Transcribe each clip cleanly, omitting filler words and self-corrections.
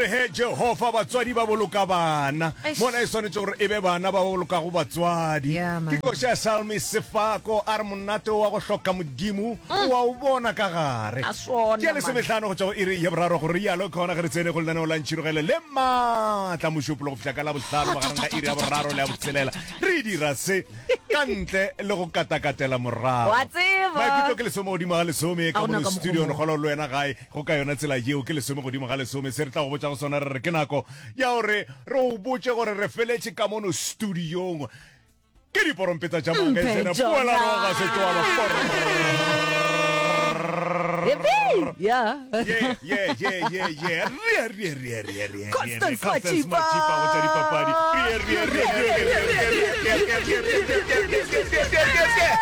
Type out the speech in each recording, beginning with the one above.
re he Jehofa batswadi ba boloka bana mola e swanetše gore e be bana ba bolokago batswadi. Ke koša ya Salmi Sefako a re monate wa go hloka Modimo mm. wa o bona ka gare. Ke ya lesomehlano go tšwa go iri ya boraro go rialo ke gona ge re tsene go lenaneo la ntšhirogele le maatla mošupolo go fihla ka la bohlano magareng ga iri ya boraro le ya botshelela. Re dira se ka ntle le go katakatela morago. Maikutlo ke lesome godimo ga lesome ka mono studio golo le wena gae Go ka yona tsela yeo, ke lesome godimo ga lesome. Se re tla go botšago sona, re re ke nako ya gore re o botše gore re feletše ka mono studiong. Ke diporompeta tša maaka e tsena poelano ga setšwana. Yeah. Yeah, yeah, yeah, yeah, yeah. Rie, rie, rie, rie, rie. Constance Constance Machipa. Machipa go tša dipapadi. Rie, rie, rie, rie, rie, rie, rie, rie, rie, rie, rie, rie, rie, rie, rie, rie, rie.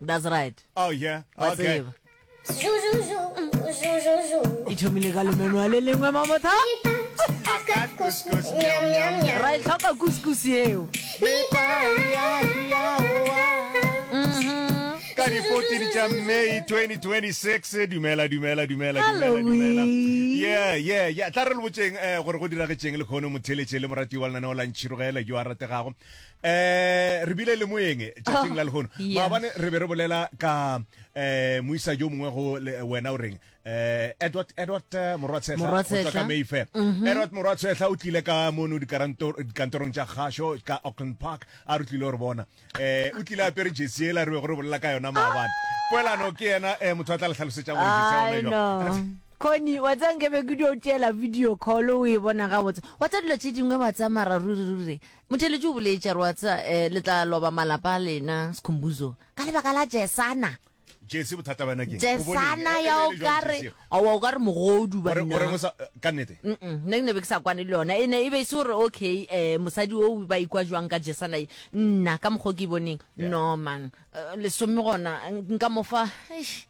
That's right. Oh yeah. Wa Okay. tseba. E thomile ka lemenwa le lengwe mamotha. Ra e hloka kuskus yeo. Ka di 14 tša May 2026 dumela dumela dumela dumela dumela yeah yeah yeah tla re le botšeng eh, gore go diragetšeng le kgone motheletše le morati wa lenaneo la ntšhirogela yo a rategago eh re bile le moeng tšatšing la lehono maabane re be re bolela ka eh moisa yo mongwe go wena o reng eh Edward Edward eh, Morwatshehla go tswa ka Mayfair mm -hmm. Edward Morwatshehla o tlile ka mono dikantorong tša kgašo ka Auckland Park a re tlile gore bona eh o tlile apere jersey ela re be gore bolela ka yona maabane poelano ke yena eh motho a tla le hlalosetša gore jersey ya ona jwang Connie, wa tseba nke be ke dio tšeela video call o e bona gabotse. Wa tseba dilo tše dingwe wa tseba mara ruri ruri. Motheeletši o boletše a re wa tseba eh, le tla loba malapa a lena Skhumbuzo ka lebaka la Jesana. Jesse bothata bjana ke eng? Jesana ya o ka re aowa o ka re mogodu Gore banna. gore o sa ka nnete. Mm nna ke ne be ke sa kwane le yona. E ne e be e se gore okay eh mosadi o ba ikwa jwang ka Jesana ye. Nna ka mokgwa o ke e boneng Yeah. no man. Eh, lesome gona nka mo fa eish.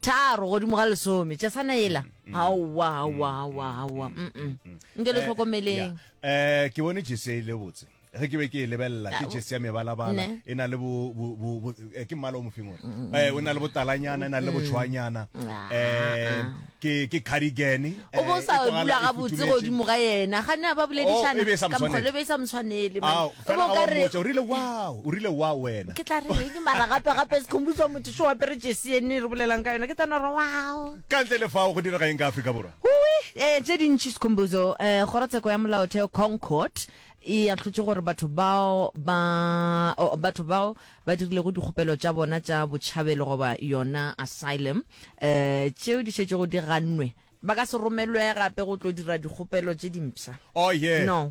Tharo godimo ga lesome. Tšesana yela. Aowa, aowa, aowa, aowa. Mm-mm. Nke le Eh, hlokomeleng. ya. Eh, ke bone jese e le botse ge ke be ke e lebelela ke jese ya mebalabala Ne. e na le bo, bo, bo, bo eh, ke mmala o mofeng one eh, o na le botalanyana e na le botšhwanyana Ah, eh, ke ke cardigan O bo eh, sa e tlogala dula e gabotse futhumetše. godimo ga yena. Gane a ba boledišana Oh, e be e sa ka mokgwa motshwanele. le be e sa motshwanele. man. Ao, O fela bo ga ka wa re mmotša, o rile wow o rile wow wena ke tla re eng mara gape gape Skhumbuzo motho šo apere jesi ene re bolelang ka yona ke tla no re wow. Ka ntle le fao go direga eng ka Afrika Borwa? Hui, eh, tše dintši Skhumbuzo. Eh, Kgorotsheko ya Molaotheo Concourt e ahlotše gore batho bao ba oh, batho bao ba dirilego dikgopelo tša bona tša botšhabelo goba yona asylum eh, tšeo di šetšego di gannwe ba ka se romelwe gape go tlo dira dikgopelo tše dimpsha. Oh yeah. No.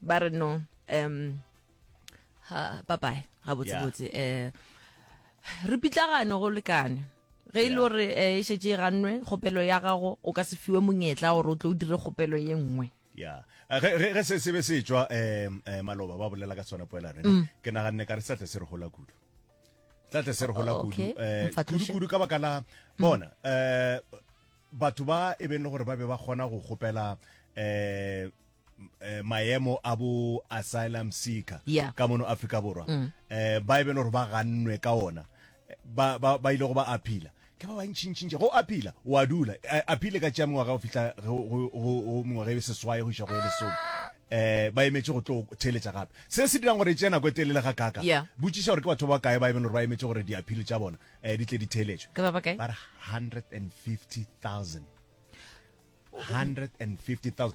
Ba re no. Um ha bye bye gabotse botse eh re pitlagane go lekane ge e le gore eh, e šetše e gannwe kgopelo ya gago o ka se fiwe monyetla gore o tlo o dire kgopelo ye nngwe ya eh, ge ge- ge se se be se tšwa um maloba ba bolela ka sona poelano ne, ke naganne ka re sa tle se re gola kudu tla tle se re gola kudu Okay, eh, mfahloše. kudu kudu ka baka la bona eh batho ba e beng le gore ba be ba kgona go kgopela eh eh, maemo a bo asylum seeker Yeah. ka mono Afrika Borwa eh ba e beng le gore ba gannwe ka ona ba ba ba ile go ba appeala ke ba bantšintšintši go appeala o a dula Eh, appeal e ka tšea mengwaga go fihla go go- go- go mengwaga e seswai go iša go e lesome eh ba emetše go tlo theeletša gape se se dirang gore e tšee nako e telele ga kaka Yeah. botšiša gore ke batho ba kae ba e beng gore ba emetše gore di-appeal tša bona eh di tle di theeletšwe Ke ba bakae? ba re 150,000 150,000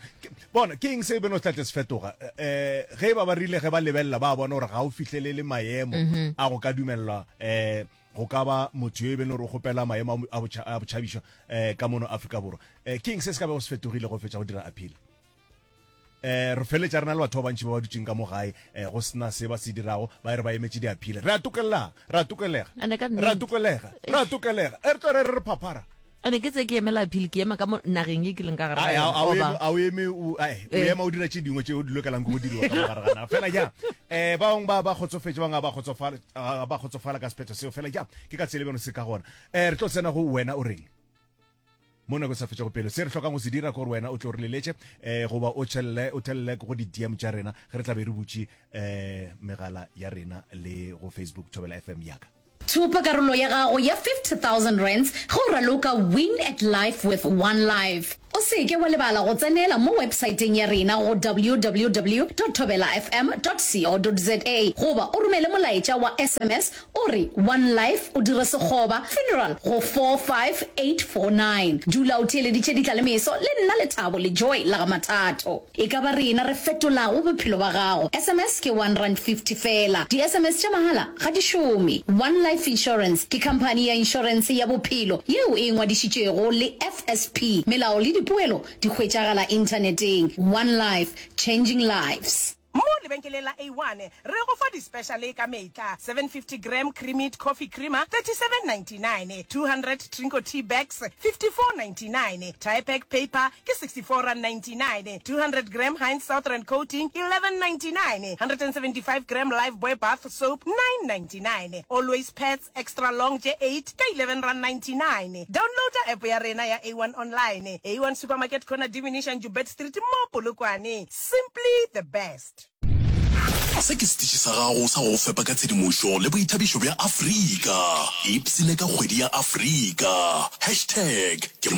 bona ke eng se e beno se tla se fetoga eh ge ba ba rile ge ba lebelela ba bona gore ga o fihlelele maemo mhm. a go ka dumelelwa eh go ka ba motho yo e beng gore o kgopela maemo a botšhabišo eh ka mono Afrika Borwa eh ke eng se se ka bego se fetogile go fetša go dira appeal eh re feletša re na le batho ba bantši ba ba dutšeng ka mo gae eh go sena se ba se dirago ba re ba emetše di-appeal re a tokelela re a tokelega re a tokelega re a tokelega e re tlo re re re phaphara ane ke tse ke emela appeal ke ema ka mo nageng ye ke leng ka gare ga yona a o eme o eh. ema o dira tše dingwe tše o di lokelang ke go diriwa ka mo gare ga naga fela ja um ba bangwe ba ba kgotsofetše bangwe ba kgotsofala ba kgotsofala ka sephetho seo fela ja ke ka tsela e beno se ka gona um re tlo tsena go wena o reng Mo nako e sa fetšego pelo, se re hlokang go se dira ke gore wena o tle o re leletše um goba o tšhelele o thelele go di-DM tša rena ge re tla be re butše um megala ya rena le go Facebook Thobela FM ya ka. Thopa karolo ya gago ya R50,000 ge o raloka Win at Life with One Life. O se ke wa lebala go tsenela mo websaeteng ya rena go www dot thobelafm dot co dot za goba o romele molaetša wa sms o re One Life o dire sekgoba funeral go 45849. Dula o theeleditše Ditlalemeso le nna Lethabo le Joy la ga Mathato. E ka ba rena re fetolago bophelo ba gago. Sms ke R1.50 feela. Di-sms tša mahala ga di šome. One Life Insurance ke khamphani ya inšorense ya bophelo yeo e ingwadišitšego le FSP. Melao le dipoelo di hwetšagala inthaneteng. One Life, changing lives. Mo lebenkeleng la A1 re go fa di-special ka mehla, 750 gram Creamit coffee creamer 37.99, 200 Trinco tea bags 54.99, Typek paper ke R64.99, 200 gram Heinz Southern coating 11.99, 175 gram Lifebuoy bath soap 9.99, Always pads extra long tše 8 ka R11.99. Downloada app ya rena ya A1 online. A1 Supermarket corner Diminish and Joubert Street mo Polokwane. Simply the best. Se ke setiši sa gago sa go go fepa ka tshedimošo le boithabišo bja Afrika. Ipshine ka kgwedi ya Afrika. Hashtag ke mo.